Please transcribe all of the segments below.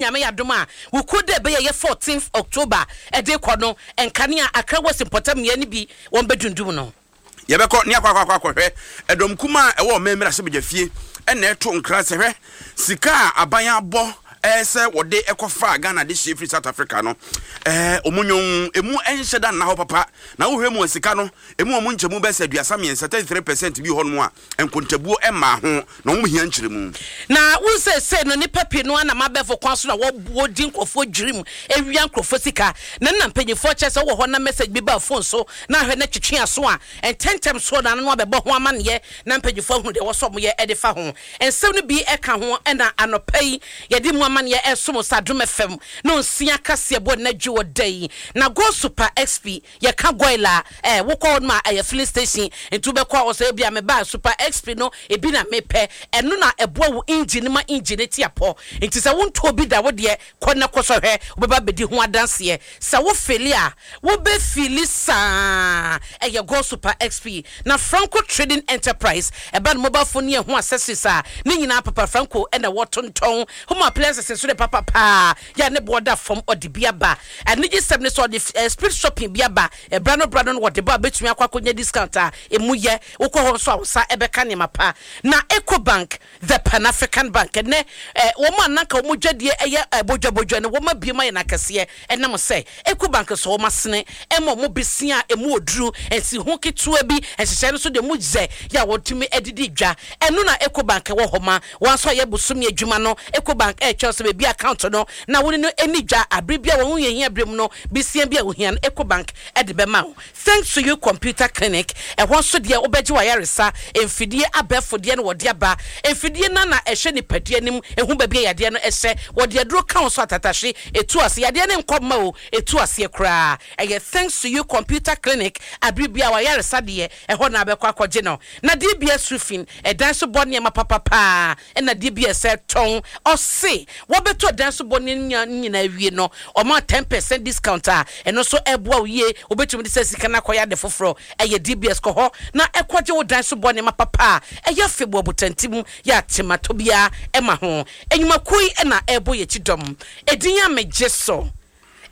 Nyame yɛ adom a, Wukuo da ɛbɛyɛ yɛ 14th October ɛde rekɔ no, nkanea Accra West mpɔtam mmea no bi wɔn bɛdundum no. Yɛbɛkɔ ne akɔ akɔ akɔhwɛ ɛdɔm kumaa a ɛwɔ ɔman mmarahyɛbadwafie na ɛto nkra sɛ hwɛ sika a aban abɔ sɛ wɔde kɔfaa Ghana adehyeɛ firi South Africa no, wɔn nwon emu nhyɛ da nna hɔ papa na wohwɛ mu a sika no emu wɔn nkyɛmu bɛyɛ sɛ 33, 33%, bi wɔ hɔnom a nkontabuo mmaa ho na wɔn hia nkyerɛmu. Na wo seesei no nnipa pii no ara nam abɛɛfo kwan so na wɔdi nkurɔfoɔ dwirim wia nkurɔfoɔ sika. Na nna mpanyinfoɔ kyerɛ sɛ wowɔ hɔ na message bi ba wo phone so na ahwɛ na twetwe aso a, ntɛntɛm soɔ na ano abɛbɔ ho amaneɛ na mpanyinfoɔ ahunu deɛ ɛwɔ sɛ wɔyɛ de fa ho. Nsɛm no bi ka ho na anɔpa yi yɛde mu amaneɛ resom wo sɛ Adom FM no nsia kaseɛbɔ nnɛ dwo da yi. Na Go Super XP Yɛka goil a, eh, wokɔ hɔ nom a ɛyɛ filling station, nti wobɛkɔ a wɔsɛ ebia meba a super XP no ebi na mepɛ, ɛno na ɛboa wo engine no ma engine no te apɔ. Nti sɛ wontɔɔ bi da wo deɛ kɔ na kɔsɔ hwɛ, wobɛba abɛdi ho adanseɛ. Sɛ wo feeli a, wobɛ feeli saa. Ɛyɛ Goil Super XP. Na Franco Trading Enterprise, ɛba no mobile phone ne ɛho accessories a, ne nyinaa papa Franco na wɔtontɔn. Home appliances nso de papa paa. Yɛ a ne boɔ da fam, ɔde bi aba. Anigyesɛm ne sɛ ɔde speed shopping bi aba. Ɛberɛ ano berɛ ano no wɔde ba a, wobɛtumi akɔ akɔnya discount a ɛmu yɛ. Wokɔ hɔ nso a, wo nsa bɛka nneɛma pa. Na Ecobank, the Pan African Bank, ɛnnɛ wɔn a na anka wɔn dwadie yɛ bodwabodwa no, wɔabue mu ayɛ no akɛseɛ. Ɛnam sɛ Ecobank sɔ wɔn asene ma wɔn besia a ɛmu ɔduru, nsiho ketewa bi, nhyehyɛeɛ no nso deɛ ɛmu yɛ yɛ a wɔtumi de di dwa. Ɛno na Ecobank wɔ hɔ ma. Wɔn nso a yɛ bosome adwuma no, Ecobank retwɛn sɛ baabi account no na wo ne no nni dwa a bere bi a wɔn ho hiahia bere mu no besia bi a wohia no Ecobank de bɛma wo. Thanks to you Computer Clinic, ɛhɔ nso deɛ wobɛgye w'ayaresa, mfidie abɛɛfo deɛ na wɔde aba. Mfidie no ara na ɛhwɛ nipadua anim, ɛhu baabi a yadeɛ no hyɛ, wɔde aduro ka ho so atatahwe, ɛtu ase. Yadeɛ no nkɔ mma o, ɛtu aseɛ koraa. Ɛyɛ Thanks to you Computer Clinic a bere biara w'ayaresa deɛ ɛhɔ na wobɛkɔ akɔgye no. Na DBS Roofing, ɛdan so bɔ nneɛma papa paa ɛna DBS ɛtɔn. Ɔse wɔbɛtɔ dan so bɔ nneɛma nyinaa awie no, ɔma 10% discount a ɛno nso ɛboa wo yie. Wobɛtumi de saa sika no akɔyɛ ade foforɔ. Ɛyɛ DBS, kɔ hɔ na kɔgye wo dan so bɔ nneɛma papa a ɛyɛ fɛ bu abotantim yɛ a tematɔ biara ɛma ho. Nnwumakuo yi na ɛrebɔ yɛn akyi dɔm. Edin a megye so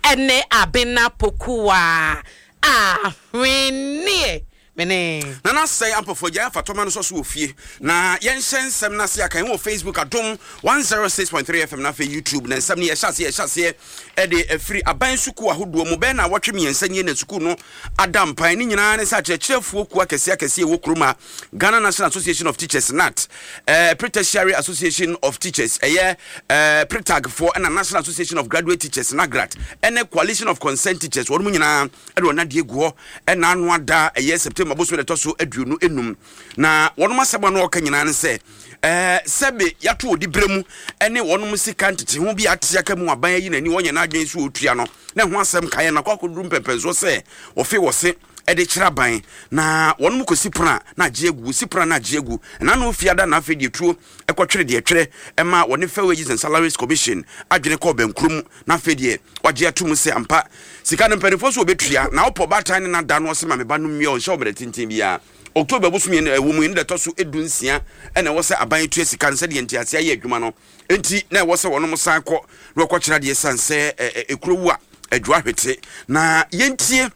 ɛne Abena Pokuaa Ahweneɛ. Mene. Nana Sɛe Ampofo Agyae Afatɔma no sɔ so wɔ fie na yɛnhyɛ nsɛm no ase aka yɛn wɔ Facebook Adom 106.3 FM na afei YouTube na nsɛm no yɛhyɛ aseɛ yɛhyɛ aseɛ ɛde afiri aban sukuu ahodoɔ mu bɛyɛ naawɔtwe mmiɛnsa nie na sukuu no ada mpan ne nyinaa ne sɛ akyerɛkyerɛfoɔ kuo akɛseɛ akɛseɛ ɛwɔ kurom a Ghana National Association of Teachers NAT eh, Pre-Tertiary Association of Teachers ɛyɛ eh, PRETAG foɔ ɛna National Association of Graduate Teachers NAGRAT ɛne Coalition of Concerned Teachers wɔn mu nyinaa ɛde wɔn adeɛ gu hɔ ɛna ano ada ɛyɛ September bosome da ɛtɔ so 25 na wɔnom asɛm a na wɔka nyinaa ne sɛ ɛɛ sɛbe yɛato odi berɛ mu ɛne wɔnom sika ntete ho bi ate aka mu aban ayi n'ani wɔnyɛ n'adwene so ɔtua no na ɛho asɛm kaeɛ na akɔ akɔduru mpɛmpɛnsoɔ sɛ wɔfe wɔ se ɛde kyerɛ aban na wɔnom kɔsi pono a na agye agu wɔsi pono a na agye agu ɛna no fiada na afei deɛ tuo ɛkɔtwere deɛ twerɛ ɛma wɔne Fair Wages and Salaries Commission adwene kɔɔ bɛnkuro mu na afei deɛ wagye ato mu sɛ ampa sika no mpanimfoɔ so wɔbɛtua na wopɔ baatan ne nada no ɔse ma me ba no mmea ɔnhyɛ ɔmmerɛ tenten biara October bosome no ɛwɔ mu yi no da ɛtɔ so 16 ɛna ɛwɔ sɛ aban tua sika no sɛdeɛ nteaseɛ ayɛ adwuma no enti na ɛwɔ sɛ wɔnom san kɔ na wɔkɔkyerɛ adeɛ sane sɛ ɛkuro wu a adwua hwete na yɛntie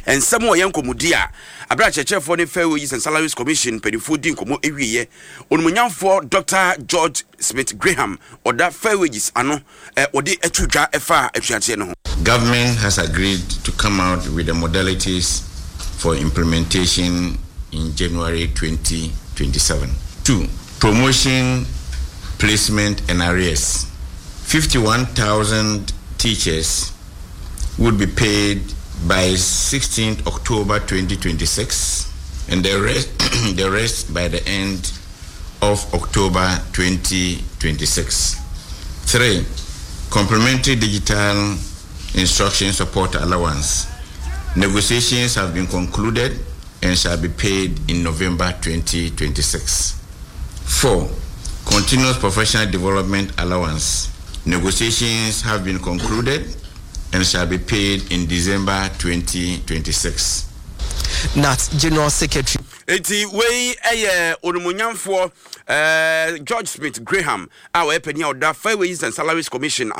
Nsɛm wɔ yɛn nkɔmmɔdi a berɛ a akyerɛkyerɛfoɔ ne Fair Wages and Salaries Commission mpanimfoɔ di nkɔmmɔ wieɛ. Onimuonyamfoɔ Dɔkta George Smith Graham ɔda Fair Wages ano wɔde to dwa ɛfa atuateɛ no ho. Government has agreed to come out with the modalities for implementation in January 2027. 2. Promotion, placement and arrears. 51,000 teachers would be paid by 16th October 2026 and the rest, the rest by the end of October 2026. 3. Complementary digital instruction support allowance. Negotiations have been concluded and shall be paid in November 2026. 4. Continuous professional development allowance. Negotiations have been concluded and shall be paid in December 2026. Nat General Secretary. Enti wei yɛ Onimuonyamfoɔ eh, George Smith Graham a ɔyɛ panin a ɔda Fair Wages and Salaries Commission ano.